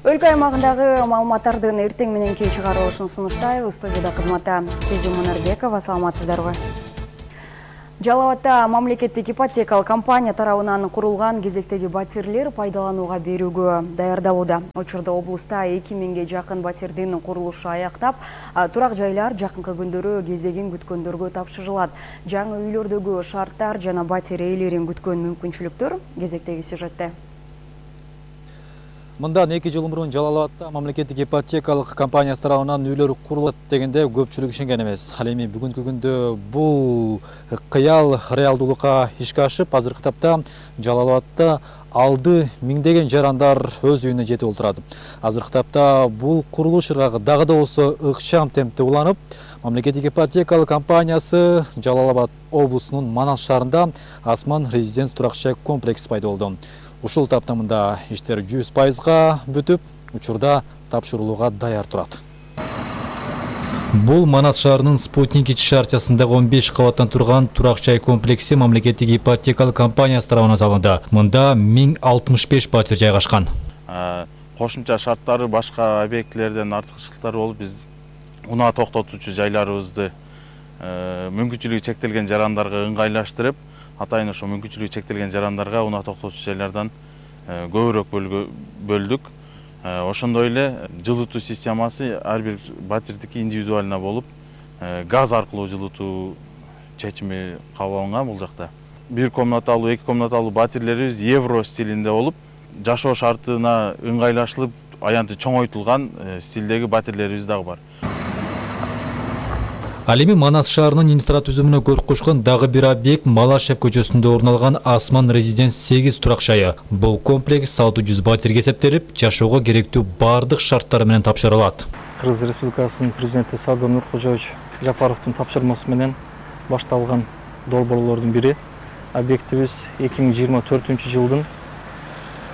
Өлкө аймагындагы маалыматтардын эртең мененки чыгарылышын сунуштайбыз. Студияда кызматта Сезим Мунарбекова, саламатсыздарбы? Жалал-Абадта мамлекеттик ипотекалык компания тарабынан курулган кезектеги батирлер пайдаланууга берүүгө даярдалууда. Учурда облуста 2000ге жакын батирдин курулушу аяктап, турак жайлар жакынкы күндөрү кезегин күткөндөргө тапшырылат. Жаңы үйлөрдөгү шарттар жана батир ээлерин күткөн мүмкүнчүлүктөр кезектеги сюжетте. Мындан 2 жыл мурун Жалал-Абадта мамлекеттик ипотекалык компаниясы тарабынан үйлөр курулат дегенде көпчүлүк ишенген эмес. Ал эми бүгүнкү күндө бул кыял реалдуулукка ишке ашып, азыркы тапта Жалал-Абадта алды миңдеген жарандар өз үйүнө жетип отурат. Азыркы тапта бул курулуш ыргагы дагы да болсо ыкчам темпте уланып, мамлекеттик ипотекалык компаниясы Жалал-Абад облусунун Манас шаарында Асман резиденс турак жай комплекси пайда болду. Ушул таптамында иштер 100%га бүтүп, учурда тапшырылууга даяр турат. Бул Манас шаарынын Спутник ич шаарчасындагы 15 кабаттан турган турак жай комплекси мамлекеттик ипотекалык компаниясы тарабынан салынды. Мында 1065 батир жайгашкан. Кошумча шарттары башка объектилерден артыкчылыктары болуп, биз унаа токтотуучу жайларыбызды мүмкүнчүлүгү чектелген жарандарга ыңгайлаштырып, атайын ошо мүмкүнчүлүгү чектелген жарандарга унаа токтотуучу жайлардан көбүрөөк бөлдүк. Ошондой эле жылытуу системасы ар бир батирдики индивидуально болуп, газ аркылуу жылытуу чечими кабыл алынган бул жакта. 1 комнаталуу, 2 комнаталуу батирлерибиз евро стилинде болуп, жашоо шартына ыңгайлашылып, аянты чоңойтулган стилдеги батирлерибиз дагы бар. Ал эми Манас шаарынын инфратүзүмүнө көрк кошкон дагы бир объект Малашев көчөсүндө орун алган Асман резиденс 8 турак жайы. Бул комплекс 600 батирге эсептелип, жашоого керектүү бардык шарттары менен тапшырылат. Кыргыз Республикасынын президенти Садыр Нуркожоевич Жапаровдун тапшырмасы менен башталган долбоорлордун бири. Объектибиз 2024-жылдын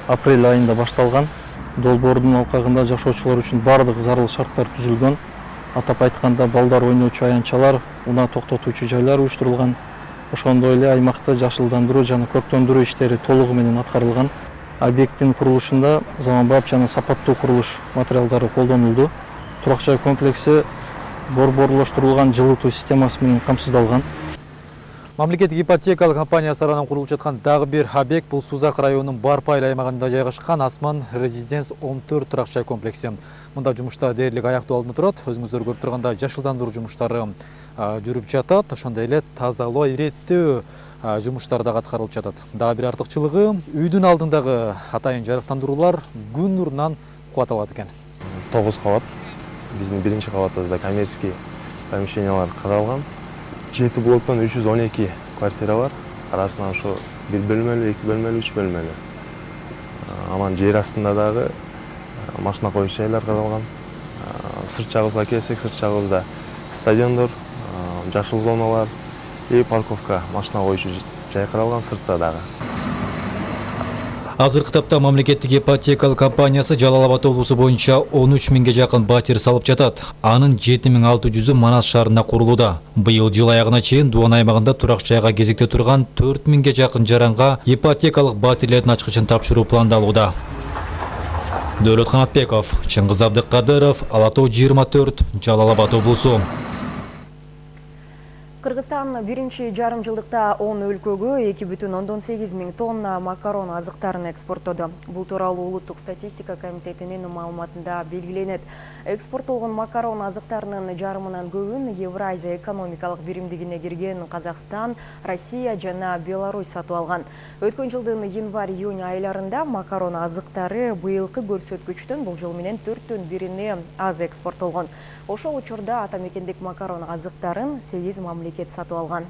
апрель айында башталган. Долбоордун алкагында жашоочулар үчүн бардык зарыл шарттар түзүлгөн. Атап айтканда, балдар ойноочу аянтчалар, унаа токтотуучу жайлар уюштурулган. Ошондой эле аймакты жашылдандыруу жана көрктөндүрүү иштери толугу менен аткарылган. Объекттин курулушунда заманбап жана сапаттуу курулуш материалдары колдонулду. Турак жай комплекси борборлоштурулган жылытуу системасы менен камсыздалган. Мамлекеттик ипотекалык компаниясы тарабынан курулуп жаткан дагы бир объект бул Сузак районунун Барпайыл аймагында жайгашкан Асман резиденс 14 турак жай комплекси. Мында жумуштар дээрлик аяктоо алдында турат. Өзүңүздөр көрүп тургандай жашылдандыруу жумуштары жүрүп жатат. Ошондой эле тазалоо, иреттөө жумуштар дагы аткарылып жатат. Дагы бир артыкчылыгы үйдүн алдындагы атайын жарыктандыруулар күн нурунан кубат алат экен. 9 кабат. Биздин биринчи кабатыбызда коммерческий помещениялар каралган. 7 блоктон 312 квартира бар. Арасынан ошо 1 бөлмөлүү, 2 бөлмөлүү, 3 бөлмөлүү. Анан жер астында дагы машина коюш жайлар каралган. Сырт жагыбызга келсек, сырт жагыбызда стадиондор, жашыл зоналар и парковка, машина коюшу жай каралган сыртта дагы. Азыркы тапта мамлекеттик ипотекалык компаниясы Жалал-Абад облусу боюнча 13 миңге жакын батир салып жатат. Анын 7600-ü Манас шаарында курулууда. Быйыл жыл аягына чейин Дуан аймагында турак жайга кезекте турган 4 миңге жакын жаранга ипотекалык батирлердин ачкычын тапшыруу пландалууда. Дөөлөт Канатбеков, Чыңгыз Абдыкадыров, Ала Тоо 24, Жалал-Абад облусу. Кыргызстан биринчи жарым жылдыкта 10 өлкөгө 2,8 миң тонна макарон азыктарын экспорттоду. Бул тууралуу Улуттук статистика комитетинин маалыматында белгиленет. Экспорттолгон макарон азыктарынын жарымынан көбүн Евразия экономикалык биримдигине кирген Казакстан, Россия жана Беларусь сатып алган. Өткөн жылдын январь-июнь айларында макарон азыктары быйылкы көрсөткүчтөн болжол менен 4төн бирине аз экспорттолгон. Ошол учурда атамекендик макарон азыктарын 8 мамлекет сатып алган.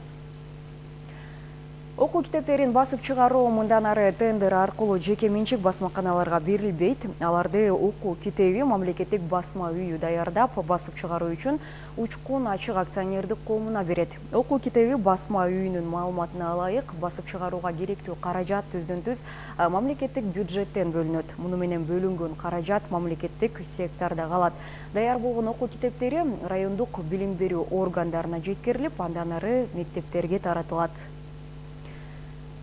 Окуу китептерин басып чыгаруу мындан ары тендер аркылуу жеке менчик басмаканаларга берилбейт. Аларды окуу китеби мамлекеттик басма үйү даярдап, басып чыгаруу үчүн Учкун ачык акционердик коомуна берет. Окуу китеби басма үйүнүн маалыматына ылайык басып чыгарууга керектүү каражат түздөн-түз мамлекеттик бюджеттен бөлүнөт. Муну менен бөлүнгөн каражат мамлекеттик сектордо калат. Даяр болгон окуу китептери райондук билим берүү органдарына жеткирилип, андан ары мектептерге таратылат.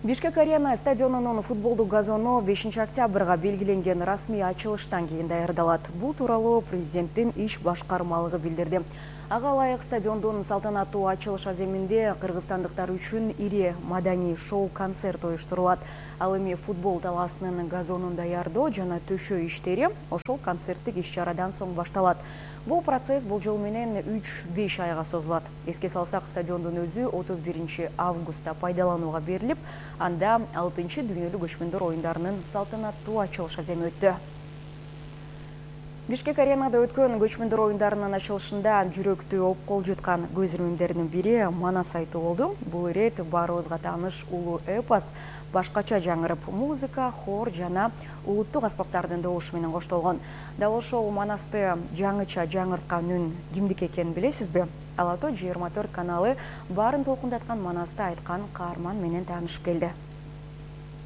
Бишкек Арена стадионунун футболдук газону 5 октябрга белгиленген расмий ачылыштан кийин даярдалат. Бул тууралуу президенттин иш башкармалыгы билдирди. Ага ылайык стадиондун салтанаттуу ачылыш аземинде кыргызстандыктар үчүн ири маданий шоу-концерт уюштурулат. Ал эми футбол талаасынын газонун даярдоо жана төшөө иштери ошол концерттик иш-чарадан соң башталат. Бул процесс бул жол менен 3-5 айга созулат. Эске салсак, стадиондун өзү 31 августта пайдаланууга берилип, анда 6-чы дүйнөлүк көчмөндөр оюндарынын салтанаттуу ачылыш аземи өттү. Бишкек Аренада өткөн көчмөндөр оюндарынын ачылышында жүрөктү опкол жуткан көз ирмемдердин бири Манас айтуу болду. Бул ирет баарыбызга тааныш улуу эпос башкача жаңырып, музыка, хор жана улуттук аспаптардын добушу менен коштолгон. Дал ошол Манасты жаңыча жаңырткан үн кимдики экенин билесизби? Ала-то 24 каналы баарын толкундаткан Манасты айткан каарман менен таанышып келди.